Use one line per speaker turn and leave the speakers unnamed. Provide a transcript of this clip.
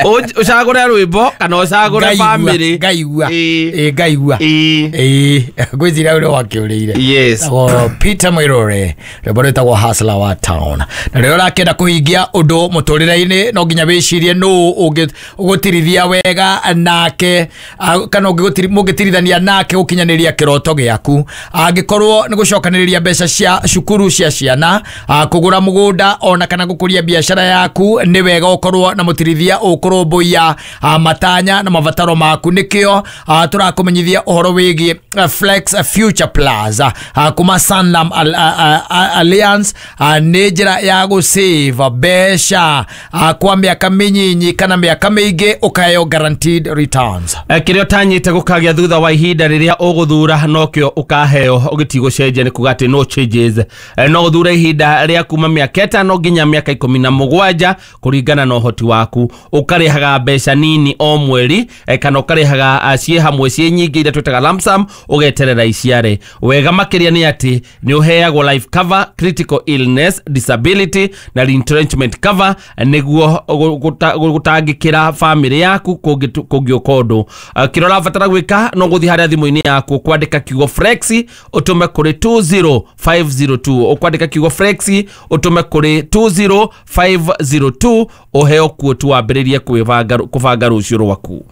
Ũcagũre rwĩmbo kana ũcagũre
Ngaigua,
bamĩrĩ.
Ngaigua.
Ĩĩ.
Ĩĩ, ngaigua.
Ĩĩ.
Ĩĩ, ngwĩciria ũrĩa wakĩũrĩire.
Yes.
Tagwo Peter Mwirore, rwĩmbo rwĩtagwo Hustler wa Town. Na rĩrĩa ũrakĩenda kũhingia ũndũ mũtũrĩre-inĩ, no nginya wĩcirie nũ ũgũtirithia wega nake, kana mũngĩtirithania nake gũkinyanĩria kĩroto gĩaku. Angĩkorwo nĩ gũcokanĩrĩria mbeca cia cukuru cia ciana, kũgũra mũgũnda ona kana gũkũria biacara yaku, nĩ wega ũkorwo na mũtirithia ũkũrũmbũiya matanya na mabataro maku. Nĩkĩo tũrakũmenyithia ũhoro wĩgiĩ Flex Future Plus kuma Sanlam Alliance. Nĩ njĩra ya gũsave mbeca kwa mĩaka mĩnyinyi kana mĩaka mĩingĩ, ũkaheo guaranteed returns.
Kĩrĩa ũtanyĩte gũkagĩa thutha wa ihinda rĩrĩa ũgũthura nokĩo ũkaheo, ũgĩtigũcenjia, nĩ kuga atĩ no changes. No ũthure ihinda rĩa kuma mĩaka 5 nginya mĩaka 17 kũringana na ũhoti waku, ũkarĩhaga mbeca nini o mweri, kana ũkarĩhaga ciĩ hamwe ciĩ nyingĩ iria twĩtaga lump sum, ũgeterera iciare. Wega makĩria nĩ atĩ nĩ ũheagwo life cover, critical illness, disability na retrenchment cover, nĩguo gũtangĩkĩra bamĩrĩ yaku kũngĩũka ũndũ. Kĩrĩa ũrabatara gwĩka no gũthiĩ harĩa thimũ-inĩ yaku, kwandĩka kiugo "flexi", ũtũme kũrĩ 20502. Ũkwandĩka kiugo "flexi", ũtũme kũrĩ 20502, ũheo quote, wambĩrĩrie kwĩbanga, kũbanga rũciũ rwaku.